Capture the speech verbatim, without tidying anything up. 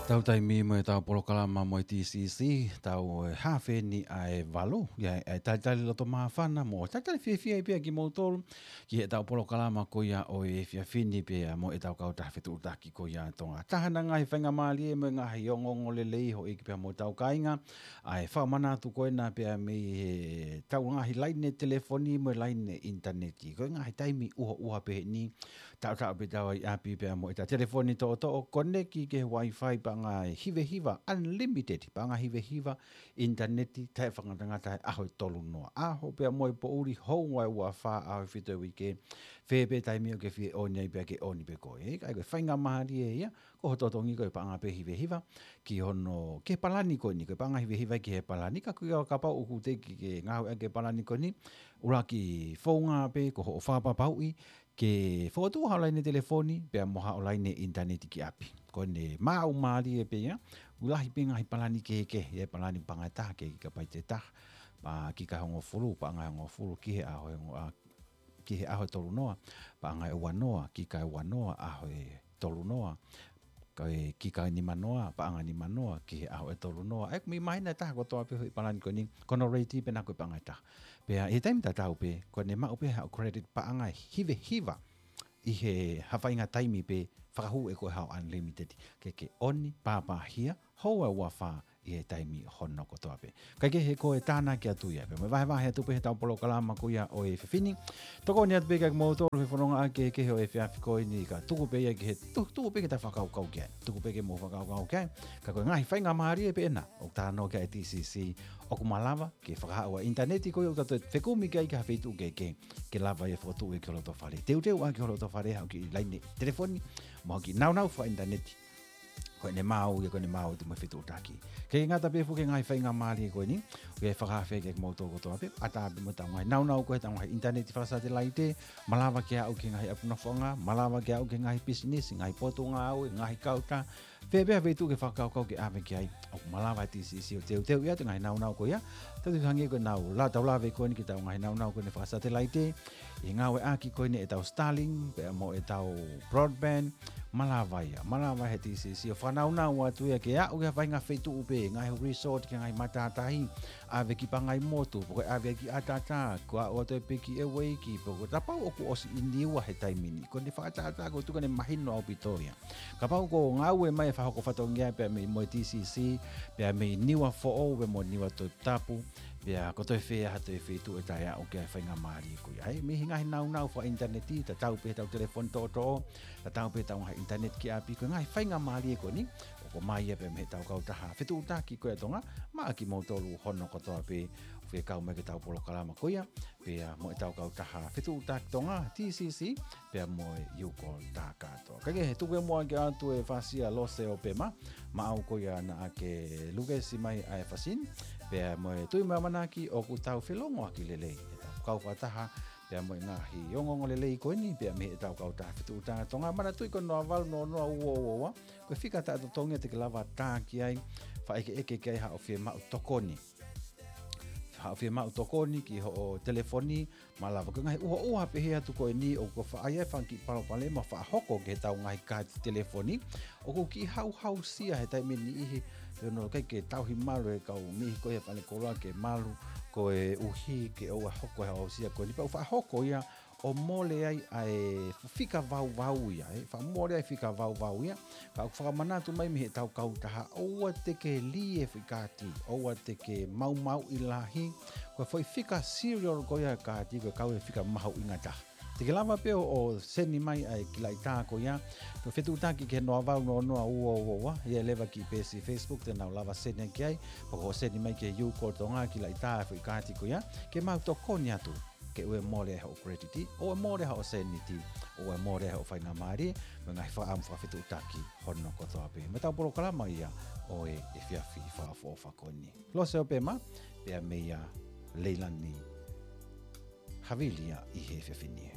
Tau taimi mo e tau polokalama mo e T C C, tau e hafe ni ʻa e valu, ia e talitali loto māfana mo talitali fiefia pea kimoutolu ki he tau polokalama ko ia ʻo e efiafi ni pea mo e tau kautaha fetuʻutaki ko ia ʻa Tonga. Taha ʻena ngaahi faingamālie mo e ngaahi ongoongo lelei houʻeiki pea mo e tau kāinga, ʻa e fakamanatu ko ena pea mei he tau ngaahi laine telefoni mo e laine ʻinitaneti. Ko e ngaahi taimi ʻuhoʻuha pehē ni, taʻotaʻo pē tau ʻi ʻapi pea mo e tau telefoni toʻotoʻo koneki ki he Wi-Fi paʻanga hivehiva, unlimited, paʻanga hivehiva, ʻinitaneti, taʻefakangatangata he ʻaho ʻe tolu noa. ʻAho pea mo e poʻuli, houa ʻe ua fā, ʻaho ʻe fitu he uike, fē pē taimi ʻoku ke fie ʻoni ai pea ke ʻoni pē koe. ʻIkai ko e faingamālie ia, ko hoʻo totongi ko e paʻanga pē hivehiva, ki hono, ki he palani ko eni, ko e paʻanga hivehiva ki he palani, ka ko ia kapau ʻoku teʻeki ke ngāueʻaki e palani ko eni, ʻuluaki founga pē ko hoʻo fakapapauʻi, ke fokotuʻu haʻo laine telefoni, pea mo haʻo laine ʻinitaneti ki ʻapi. Ko ʻene maʻu mālie pē ia, ʻoku lahi pē ngaahi palani kehekehe, ʻi he palani paʻanga ʻe taha ki he kikapaite ʻe taha, pea kika ʻe hongofulu, paʻanga ʻe hongofulu, ki he ʻaho ʻe hongo-, ʻa, ki he ʻaho ʻe tolu noa, paʻanga ʻe ua noa, kika ʻe ua noa, ʻaho ʻe tolu noa, ka e kika ʻe nima noa, paʻanga ʻe nima noa, ki he ʻaho ʻe tolu noa. ʻE, mei mahina ʻe taha kotoa pē hoʻo palani ko eni, ko hono rate pē ʻena ko e paʻanga ʻe taha. Pea ʻi he taimi tatau pē, ko ʻene maʻu pē haʻo credit paʻanga hivehiva, ʻi he ha faʻahinga taimi pē, fakahū ʻe koe haʻo unlimited. Ke ke ʻoni, pāpāhia, houa ʻe ua fā, ʻi he taimi hono kotoa pē. Kae kehe ko e tānaki atu ia pē, mo e vahevahe atu pē he tau polokalama ko ia ʻo e efiafi ni. Tokoni atu pē kia kimoutolu he fononga ʻa e kehekehe ʻo e efiafi ko eni ka tuku pē ia ki he, tu-, tuku pē ke ta fakakaukau ki ai. Tuku pē ke mou fakakaukau ki ai. Ka ko e ngaahi faingamālie pē ʻena, ʻoku talanoa ki ai e T C C, ʻoku malava ke fakahā ʻa e ʻinitaneti ko ia ʻoku ta toe fekumi ki ai ki ha feituʻu kehekehe, ke lava ia ʻo fokotuʻu ia ki ho loto fale. Teuteu ʻaki ho loto fale haʻo kiʻi laine telefoni, mo haʻo kiʻi nāunau fakaʻinitaneti. Ko ʻene maʻu ia, ko ʻene maʻu atu mo e fetuʻutaki. Ke ngata pē foki ki he ngaahi faingamālie ko eni, ʻoku ou fakaafeʻi kimoutolu kotoa pē, ʻatā pē mo e tau ngaahi nāunau ko e tau ngaahi ʻinitaneti fakasatelaite, malava ke aʻu ki he ngaahi ʻapi nofoʻanga, malava ke aʻu ki he ngaahi pisinisi, ngaahi potungāue, ngaahi kautaha, fē pē ha feituʻu ke fakakaukau ke ʻave ki ai, ʻoku malava e T C C ʻo teuteu ia ʻa e ngaahi nāunau ko ia, tau hangē ko ʻenau la-, tau lave ko eni ki he tau ngaahi nāunau ko eni fakasatelaite, ʻi he ngāueʻaki ko eni ʻetau Starlink, pea mo ʻetau broadband, malava ia, malava he T C C ʻo fakanaunau atu ia ke aʻu ki ha faʻahinga feituʻu pē, ngaahi resort ki he ngaahi matātahi, ʻave ki Pangaimotu, pe ko e ʻave ki ʻAtatā, ko e aʻu atu pē ki ʻEueiki, pe ko e kapau ʻoku ʻosi ʻi Niua he taimi ni. Ko ʻene fakatātā ko e tuku ʻene mahino ʻaupito ia. Kapau ʻoku ngāue mai e fakahoko fatongia pea mei mo e T C C, pea mei Niuafoʻou, pea mo Niuatoputapu, pea ko e toe fē ha toe feituʻu ʻe taʻeaʻu ki ai e faingamālie ko ia. ʻA ia, mei he ngaahi nāunau fakaʻinitaneti, tatau pē he tau telefoni toʻotoʻo, tatau pē he tau ngaahi ʻinitaneti ki ʻapi, ko e ngaahi faingamālie ko eni, ʻoku ʻomai ia pē mei he tau kautaha fetuʻutaki ko ia ʻa Tonga, maʻa kimoutolu hono kotoa pē, ʻoku fekau mai ki he tau polokalama ko ia, pea mo e tau kautaha fetuʻutaki Tonga, T C C, pea mo e Youcall Takato. Kae kehe, tuku muʻa ke ʻoatu e fasi ʻa Lose ʻo Pema, maʻau ko ia naʻa ke lukesi mai ʻa e fasi ni, pea mo e tui mo e ʻamanaki ʻoku tau felongoaki lelei he tau kau fakataha, pea mo e ngaahi ongoongo lelei ko eni, pea mei he tau kautaha fetuʻutaki Tonga, manatuʻi ko e noa valu noa noa ua ua ua, ko e fika taʻetotongi te ke lava tā ki ai, fakaʻekeʻeke ki ai haʻo fiemaʻu tokoni. Haʻo fiemaʻu tokoni ki hoʻo telefoni, malava. Ko e ngaahi ʻuhoʻuha pehē atu ko eni ʻoku faʻa ʻi ai e fanga kiʻi palopalema ʻoku faʻa hoko ki he tau ngaahi kaati telefoni, ʻoku kiʻi hauhausia he taimi ʻe niʻihi, pea ʻoku ʻikai ke tauhi malu ʻe he kau niʻihi ko ia he falekoloa ke malu, koeʻuhi ke ʻoua ʻe hoko e hauhausia ko eni. Pea ʻoku faʻa hoko ia ʻo mole ai ʻa e fika vauvau ia, ʻe faʻa mole ai e fika vauvau ia, ka ʻoku fakamanatu mai mei he tau kautaha, ʻoua te ke lī e foʻi kaati, ʻoua te ke maumauʻi lahi, ko e foʻi fika serial ko ia e kaati, ko e kau e fika mahuʻinga taha. Te ke lava pē ʻo, ʻo seni mai ʻa e kiʻi laʻitā ko ia, ko e fetuʻutaki ki he noa valu noa noa ua ua ua, ʻi he leva ki he peesi Facebook, te nau lava seni ki ai, pe ko e seni mai ki he Youcall Tonga kiʻi laʻitā e foʻi kaati ko ia, ke mau tokoni atu ke ʻoua ʻe mole ai hoʻo credit, ʻoua ʻe mole ai hoʻo sēniti, ʻoua ʻe mole ai hoʻo faingamālie, mo e ngaahi fakaʻamu fakafetuʻutaki hono kotoa pē. Mo e tau polokalama ia ʻo e efiafi fakaʻofoʻofa ko eni. Lose ʻo Pema, pea meia Leilani Havili ia ʻi he efiafi ni.